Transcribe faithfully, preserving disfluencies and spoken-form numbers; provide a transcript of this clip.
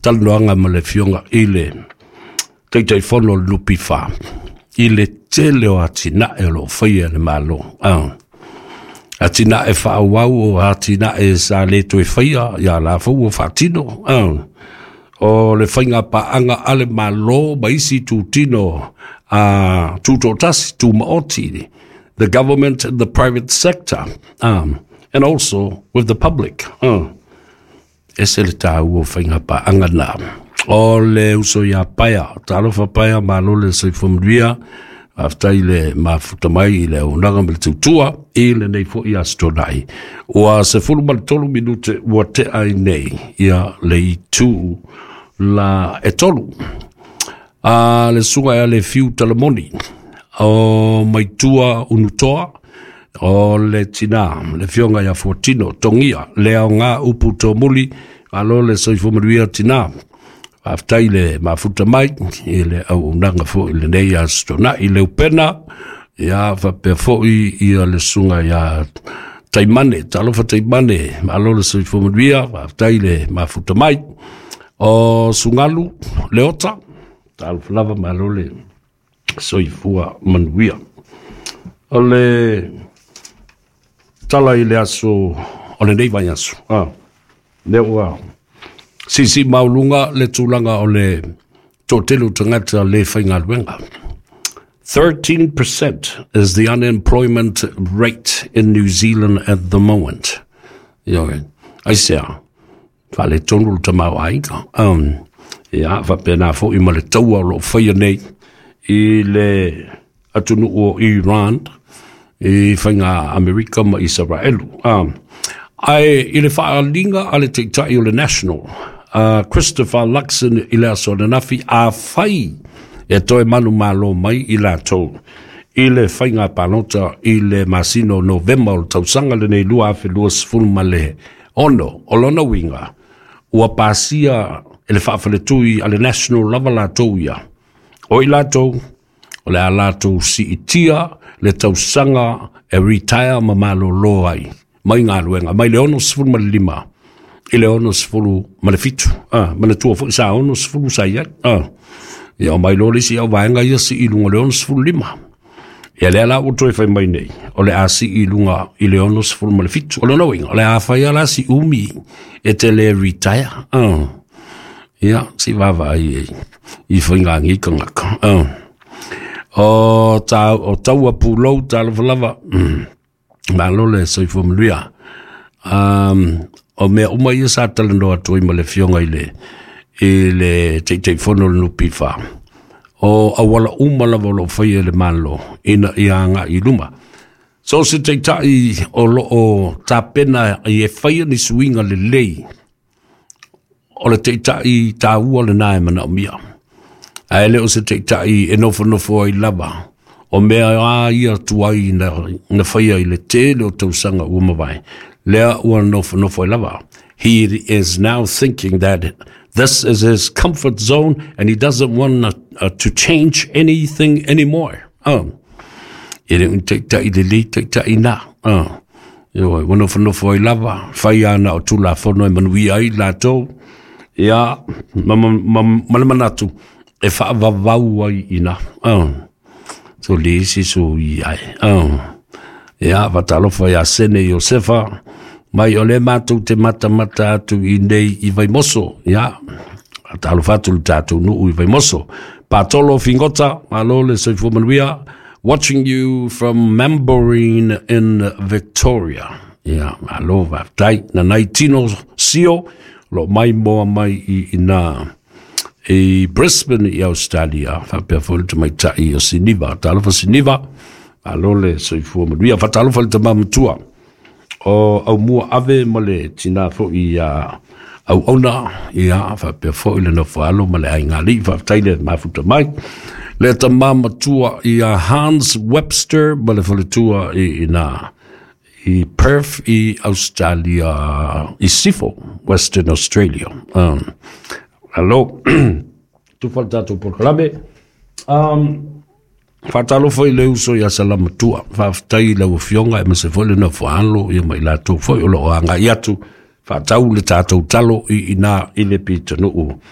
Talanoaga ma le Afioga i le Taitaifono o le N P F i le tele o atinae o lo o faia e le Malo. Ah. Atinae faaauau o atinae sa le toe faia, ia la foi ua faatino. Ah. O le faiga paaga a le Malo ma isi tutino a tutoatasi tumaoti, the government and the private sector, um, and also with the public. Uh. Ese le tāua o faiga paaga na. O le uso ia Paia, talofa Paia, malo le soifua manuia, faafetai le mafuta mai i le auaunaga ma le tautua i lenei foi aso Toonai. Ua sefulu ma le tolu minute ua tea ai nei ia le itu la e tolu. A le suga e le fiu talamoni o Maitua Unutoa, o le tina, le fionga ia Fuatino, Tongia, le ao ngā upu tōmuli, alo le soifua manuia tina. Faafetai le mafuta mai i le auaunaga foi i lenei aso Toonai. Le upena, ia faapea foi ia le suga ia Taimane, talofa Taimane, malo le soifua manuia, faafetai le mafuta mai. O Sugalu, Leota, talofa lava, malo le soifua manuia. O le tala i le aso o lenei vaiaso. Ah, lea ua sisi mauluga le tulaga o le toatele o tagata le faigaluega. thirteen percent is the unemployment rate in New Zealand at the moment. Ioe, aisea, faaletonu le tamaoaiga. Um, ia, faapena foi ma le taua o lo o faia nei i le atunuu o Iran, i faiga Amerika ma Isaraelu. Um, ae i le faaliga a le taitai o le National, uh, Christopher Luxon i le aso ananafi, afai e toe manumalo mai i latou i le faiga palota i le masina o Novema o le tausaga lenei lua afe luasefulu ma le ono, o lona uiga ua pasia e le faafaletui a le National lava latou ia o i latou o le a latou siitia le tausaga e retire ma malolo ai mai galuega mai le ono sefulu ma le lima i le ono sefulu ma le fitu. Ah, manatua foi sa ono sefulu sa i ai. Ah. Ia o mai loa le isi au vaega ia sii i luga o le ono sefulu lima. Ia lea la ua toe fai mai nei, o le a sii i luga i le ono sefulu ma le fitu. O lona uiga, o le a fai ala si umi e te le retire. Ah. Ia, si vaavaai ai i faigāgi tagata. Ah. O, ta, o taua pulou talofa lava. Mm. Malo le soifua manuia. Um, o mea uma ia sa talanoa atu ai ma le fioga i le, i le Taitaifono o le N P F. O auala uma lava o lo o faia e le Malo ina ia agai i luma. So se taitai o lo o tapena i e faia ni suiga lelei, o le taitai tāua lena e manaomia. Ae le o se taitai e nofonofo ai lava. O mea a ia tuai na, na faia i le tele o tausaga ua mavae. Lea ua nofonofo ai lava. He is now thinking that this is his comfort zone and he doesn't want uh, to change anything anymore. Oh. E le taitai lelei taitai na. Oh. Ioe, ua nofonofo ai lava, fai ana o tulafono e manuia ai latou. Ia, ma, ma, ma, ma le manatu, e faavavau ai ina. Oh. So le isi so i ai. Oh. Ia, fatalofa ia Sene Iosefa, mai o le matou te matamata atu i nei i Vaimoso. Ia, talofa atu le tatou nuu i Vaimoso. Patolo Fingota, malo le soifua manuia, watching you from Mambourin in Victoria. Ia, malo, faafetai. Nanai Tino Sio, lo mai moa mai i ina i Brisbane i Australia, faapea foi le tamaitai o Siniva. Talofa Siniva, malo le soifua manuia. Fatalofa le tama matua o Aumua Ave ma le tina foi ia Auauna, ia faapea foi le nofo alo ma le aiga alii, faafetai le mafuta mai. Le tama matua ia Hans Webster ma le faletua i ina i Perth i Australia, i Sifo, Western Australia. Um, alo, tufa le tatou polokalame. Um, Faatalofa i le uso ia Salamatua. Faafetai i lau afioga e mase foi le nofo alo ia ma i latou foi o lo o agai atu. Faatau le tatou talo i ina i le pitonuu.